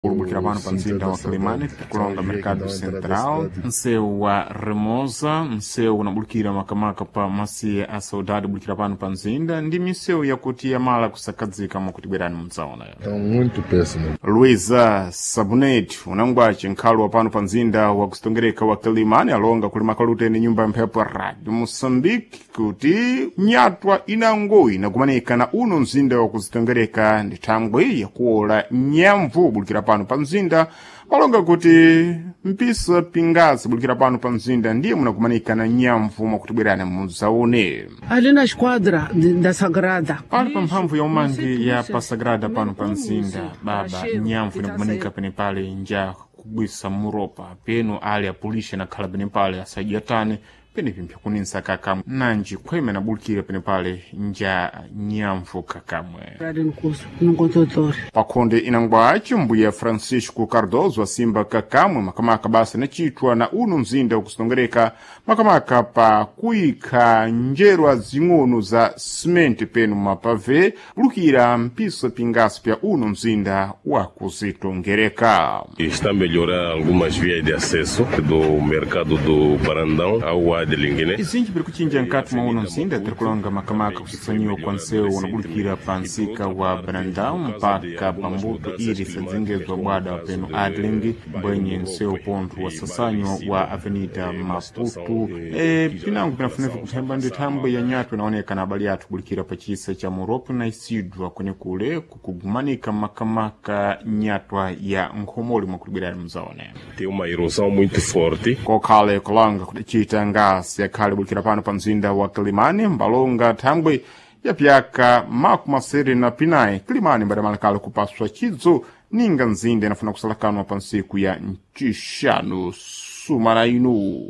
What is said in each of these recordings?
Kumbukira pano pa Cinto mzinda da wa Quelimane Saudade, tikulonga a via que Mercado dá à entrada da Central, cidade. msewu wa Remosa, msewu unabulukira makamaka pa masiya a Saudade bulikira pano pa mzinda ndi misewu yakuti yamala kusakadzika mwakuti bwerani mudzaona. Então, muito péssimo. Luisa Sabunet unangwace nkhalo wa pano pa mzinda wa kusitongereka wa Quelimane alonga kulima kaluteni nyumba ya mphepo ya Radio Moçambique kuti nyatwa inango inakumanika na uno mzinda wa kusitongereka ndi thangwi yakuola nyamvu bulikira pano pa mzinda palonga kuti mpisa pingazi bulikira pano pa mzinda ndiye munakumanika na nyamvu mwakuti bwerani mudzaone. Ali na esquadra da Sagrada. Pali pa mphamvu ya umangi ya Pasagrada pano pa mzinda baba nyamvu inakumanika penepale nja kugwisa muropa peno ali apulisha nakhala penepale asadyatane penepi kuninsa kakamwe nanji khweme nabulikira penepale nja nyamvu kakamwe. Ali no curso, no consultório. Pakhonde inangwaci mbuya Francisco Cardoso asimba kakamwe makamaka basa nachitwa na uno mzinda wakusitongereka makamaka pa kuyikha njerwa zing'ono za simenti peno mapave bulukira mpiso pingaso pya uno mzinda wakuzitongereka. Está a melhorar algumas vias de acesso do mercado do Barandão ao Adling, né? Izinji biri kuchinja nkati mwa uno mzinda tiri kulonga makamaka kusasanyiwa kwa nsewu unabulikira pa nsika wa Brandão mpaka pambuto iri sadzengezwa bwada peno Adling mbwenye nsewu pontho wasasanywa wa Avenida Maputo. E, pinango pinafunika kuthemba ndi thambwe ya nyatwa inaoneka na abali athu kubulikira pa chisa cha Moropo na Isidwa kwenekule kukugumanika makamaka nyatwa ya nkhomoli mwakutibwerani mzaone. Tem uma erosão muito forte. Kokhale kulanga kudacita ngasi yakhale bulikira pano pa mzinda wa Kilimani mbalonga thangwi ya pyaka 75 Kilimani mbadamalakale kupaswa chidzo ninga mzinda inafuna kusalakanwa pa ntsiku ya ncixanu sumana inu.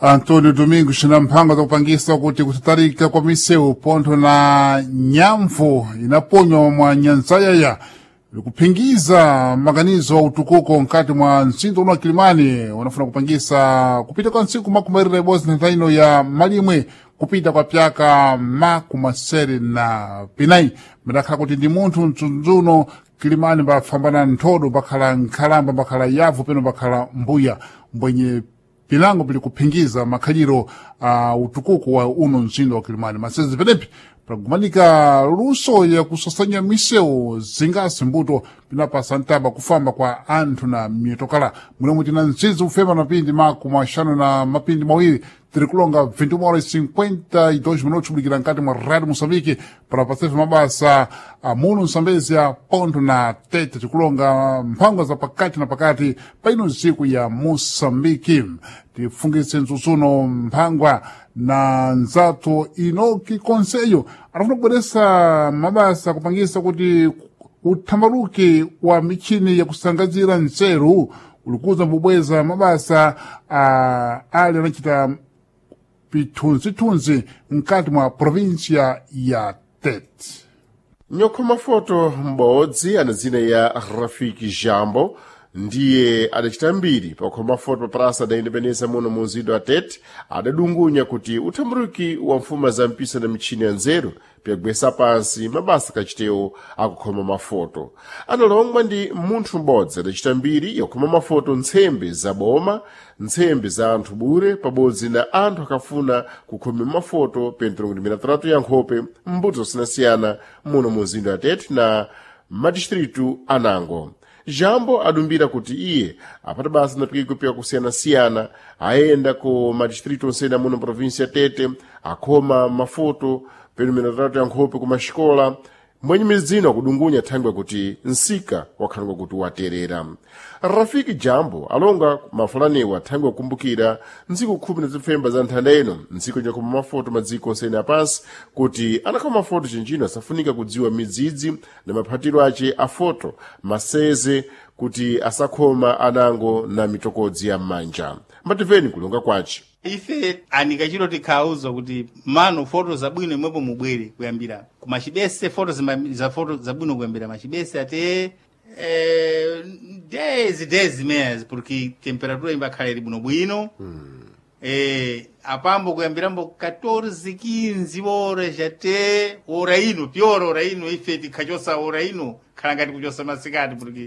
Antônio Domingos na mphango zakupangisa kuti kutatarika kwa misewu pontho na nyamvu inaponywa mwa nyanzayaya likuphingiza maganizo a utukuko mkati mwa mzinda uno wa Kilimani unafuna kupangisa kupita kwa ntsiku 25 ya malimwe kupita kwa pyaka 74 midakhala kuti ndi munthu mdzundzuno Kilimani mbafambana nthodo mbakhala nkhalamba mbakhala yavu peno mbakhala mbuya mbwenye pilango pili kuphingiza makhaliro a utukuku wa uno mzinda wa Kilimani. Masezi penepi pakumanika luso ya kusasanya misewu zingasi mbuto pinapasa ntaba kufamba kwa anthu na mitokala munemwe tina mzizi ufema mapindi 52 tiri kulonga 21:52 minutos kubulikira nkati mwa Radio Moçambique para pasefe mabasa amuno msambezia pontho na tete tikulonga mphango za pakati na pakati paino ntsiku ya Moçambique. Tifungitse mtsutsuno mphangwa na nzathu Inoki Konseyo anafuna kubweresa mabasa kupangisa kuti uthambaluki wa michini yakusangazira nzeru ulikuza mbubweza mabasa ali anachita pithunzithunzi mkati mwa província ya Tete. Nyokhoma foto m'bodzi ana dzina ya Rafiki Jambo ndiye adacita mbiri pakukhoma foto pa praça da Independência muno mu mzinda wa Tete adadungunya kuti uthamburuki wa mfuma za mpisa na michini ya nzeru pyagwesa pansi mabasa kachitewo akukhoma mafoto. Analongwa ndi munthu m'bodzi adacita mbiri yakukhoma mafoto ntsembe za boma, ntsembe za anthu bure pabodzi na anthu akafuna kukhoma mafoto pentero kuti milataratu ya nkhope mbuto zosiyanasiyana muno mu mzinda wa Tete na madistritu anango. Jambo adumbira kuti iye apata basa na pikiko kusiyana-siyana ayenda ku madistritu onsene muno província ya Tete akhoma mafoto peno milatatu ya nkhope ku maxikola mwenye midzino akudungunya thangwe kuti nsika wakhalangwa kuti waterera. Rafiki Jambo alonga mafulaniwa thangwe akumbukira ntsiku 10 za nthanda ino ntsiku nyakhoma mafoto madziko onsene apansi kuti anakhoma mafoto chinjino asafunika kudziwa midzidzi na maphatiro ace a foto maseze kuti asakhoma anango na mitokodzi ya m'manja. Mbatimveni kulonga kwace. Ife anikachiro tikhauza kuti mano foto zabwino imwepo mubwere kuyambira kumachibese foto za foto zabwino kuyambira machibese ate 10 10 meses porque temperatura imbakhala ili bwinobwino. Apambo kuyambirambo 14 15 horas ate ora ino pior ora ino ife tikhachosa ora ino khala ngati kuchosa masikati porque